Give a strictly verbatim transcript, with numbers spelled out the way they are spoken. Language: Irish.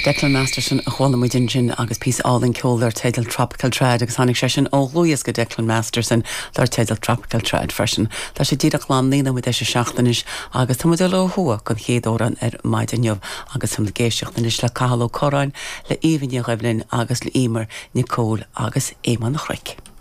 Declan Masterson a chuala muid ansin agus píosa álainn ceoil dar teideal Tropical Trad agus tháinig sé sin ó dhlúthdhiosca Declan Masterson dar teideal Tropical Trad freisin. Tá sé díreach lán naoi nóiméad théis a seacht anois agus tá le thua don chéad amhrán ar maidin inniu agus tá ag éisteacht anois le Cathal Ó Curráin le Aoibhinn Ní Dhoibhlin agus le Emer Nicole agus Éamonn Chnoic.